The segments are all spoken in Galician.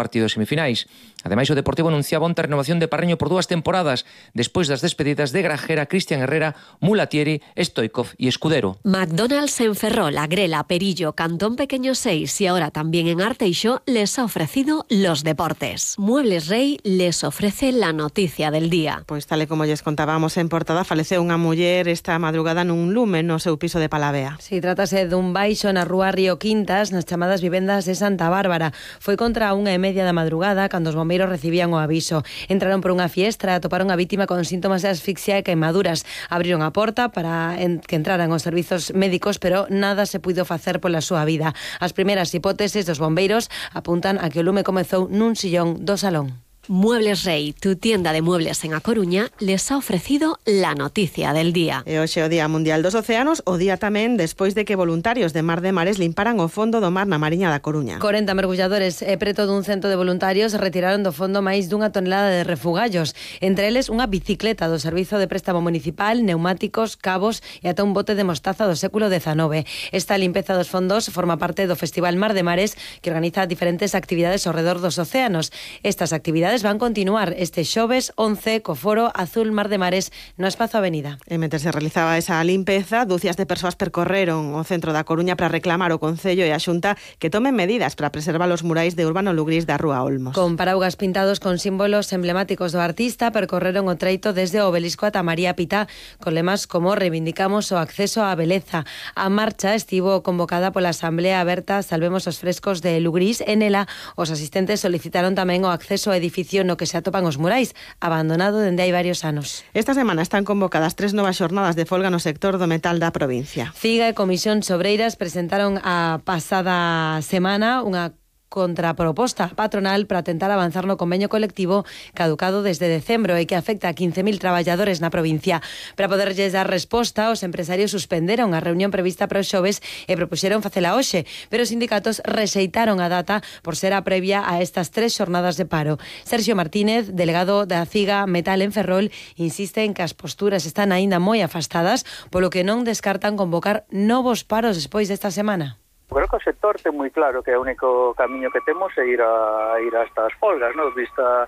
partido de semifinais. Ademais, o Deportivo anunciaba onte a renovación de Parreño por 2 temporadas, despois das despedidas de Grajera, Cristian Herrera, Mulatieri, Stoikov y Escudero. McDonald's en Ferrol, Agrela, Perillo, Cantón Pequeño 6 y ahora también en Arteixo les ha ofrecido los deportes. Muebles Rey les ofrece la noticia del día. Pois tal e como lles contábamos en portada, faleceu unha muller esta madrugada nun lume no seu piso de Palavea. Si, trátase dun baixo na rúa Río Quintas, nas chamadas vivendas de Santa Bárbara. Foi contra a 1:30 da madrugada cando os bombeiros recibían o aviso. Entraron por unha fiestra, atoparon a vítima con síntomas de asfixia e queimaduras. Abriron a porta para que entraran os servizos médicos, pero nada se puido facer pola súa vida. As primeiras hipóteses dos bombeiros apuntan a que o lume comezou nun sillón do salón. Muebles Rey, tu tienda de muebles en A Coruña, les ha ofrecido la noticia del día. E hoxe o Día Mundial dos Océanos, o día tamén despois de que voluntarios de Mar de Mares limparan o fondo do mar na Mariña da Coruña. 40 mergulladores e preto dun cento de voluntarios retiraron do fondo máis dunha tonelada de refugallos, entre eles unha bicicleta do Servizo de Préstamo Municipal, neumáticos, cabos e ata un bote de mostaza do século XIX. Esta limpeza dos fondos forma parte do Festival Mar de Mares, que organiza diferentes actividades ao redor dos océanos. Estas actividades van continuar este xoves 11 co foro Azul Mar de Mares no Espazo Avenida. E mentre se realizaba esa limpeza, dúcias de persoas percorreron o centro da Coruña para reclamar ao Concello e a Xunta que tomen medidas para preservar os murais de Urbano Lugrís da Rúa Olmos. Con paraugas pintados con símbolos emblemáticos do artista, percorreron o treito desde o Obelisco ata María Pita, con lemas como reivindicamos o acceso á beleza. A marcha estivo convocada pola Asamblea Aberta Salvemos os Frescos de Lugrís e nela os asistentes solicitaron tamén o acceso ao edificio no que se atopan os murais, abandonado dende hai varios anos. Esta semana están convocadas 3 novas xornadas de folga no sector do metal da provincia. CIGA e Comisión Sobreiras presentaron a pasada semana unha contraproposta patronal para tentar avanzar no convenio colectivo caducado desde decembro e que afecta a 15.000 traballadores na provincia. Para poderlles dar resposta, os empresarios suspenderon a reunión prevista para os xoves e propuxeron facela hoxe, pero os sindicatos rexeitaron a data por ser a previa a estas 3 xornadas de paro. Sergio Martínez, delegado da CIGA Metal en Ferrol, insiste en que as posturas están aínda moi afastadas, polo que non descartan convocar novos paros despois desta semana. Creo que o sector ten moi claro que o único camiño que temos é ir a estas folgas, ¿no? Vista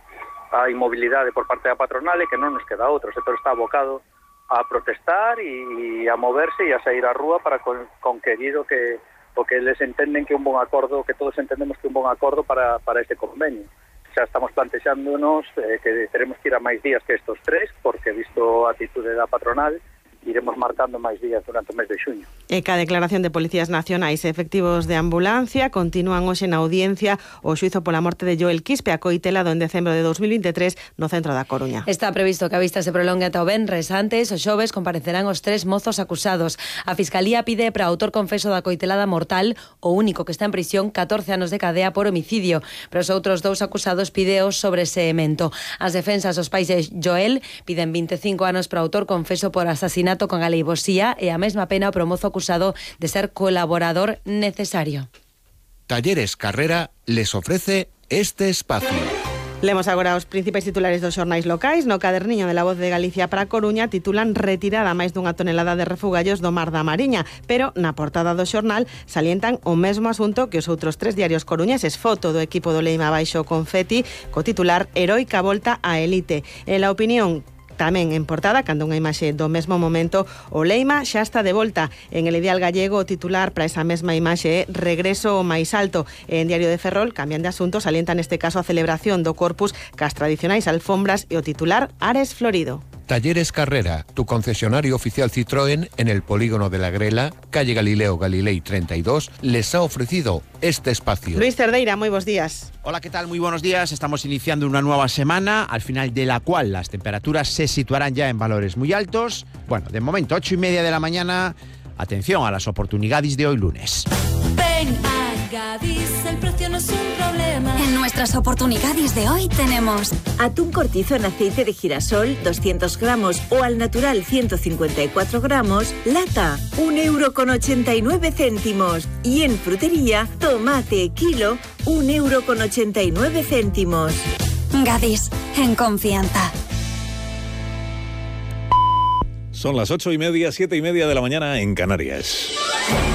a inmobilidade por parte da patronal e que non nos queda outro. O sector está abocado a protestar e a moverse e a sair á rúa para conquerir o que eles entenden que é un bon acordo, que todos entendemos que é un bon acordo para este convenio. Xa estamos plantexándonos que teremos que ir a máis días que estos 3, porque visto a atitude da patronal, iremos marcando máis días durante o mes de xuño. E ca declaración de policías nacionais e efectivos de ambulancia continúan hoxe na audiencia o xuizo pola morte de Joel Quispe, acoitelado en decembro de 2023 no centro da Coruña. Está previsto que a vista se prolongue ata o venres. Antes, os xoves comparecerán os 3 mozos acusados. A Fiscalía pide para o autor confeso da coitelada mortal, o único que está en prisión, 14 anos de cadea por homicidio, pero os outros 2 acusados pideos sobre seguimento. As defensas dos pais de Joel piden 25 anos para o autor confeso por asasinato con aleivosía e a mesma pena para o mozo acusado de ser colaborador necesario. Talleres Carrera les ofrece este espacio. Lemos agora os principais titulares dos xornais locais. No caderniño de La Voz de Galicia para Coruña titulan retirada máis dunha tonelada de refugallos do Mar da Mariña, pero na portada do xornal salientan o mesmo asunto que os outros 3 diarios coruñeses. Foto do equipo do Leima baixo confeti co titular Heroica volta á elite. En La Opinión, tamén en portada, cando unha imaxe do mesmo momento, o Leima xa está de volta. En El Ideal Gallego, o titular para esa mesma imaxe é regreso ao máis alto. En Diario de Ferrol, cambian de asunto, salienta neste caso a celebración do Corpus cas tradicionais alfombras e o titular Ares Florido. Talleres Carrera, tu concesionario oficial Citroën en el polígono de la Grela, calle Galileo Galilei 32, les ha ofrecido este espacio. Luis Cerdeira, moi bons días. Hola, ¿qué tal? Muy buenos días. Estamos iniciando una nueva semana, al final de la cual las temperaturas se situarán ya en valores muy altos. Bueno, de momento, 8:30 de la mañana. Atención a las oportunidades de hoy lunes. Ven a Gadis, el precio no es un problema. En nuestras oportunidades de hoy tenemos atún cortizo en aceite de girasol 200 gramos o al natural 154 gramos, lata, 1,89 €. Y en frutería, tomate kilo, 1,89 €. Gadis, en confianza. Son las 8:30, 7:30 de la mañana en Canarias.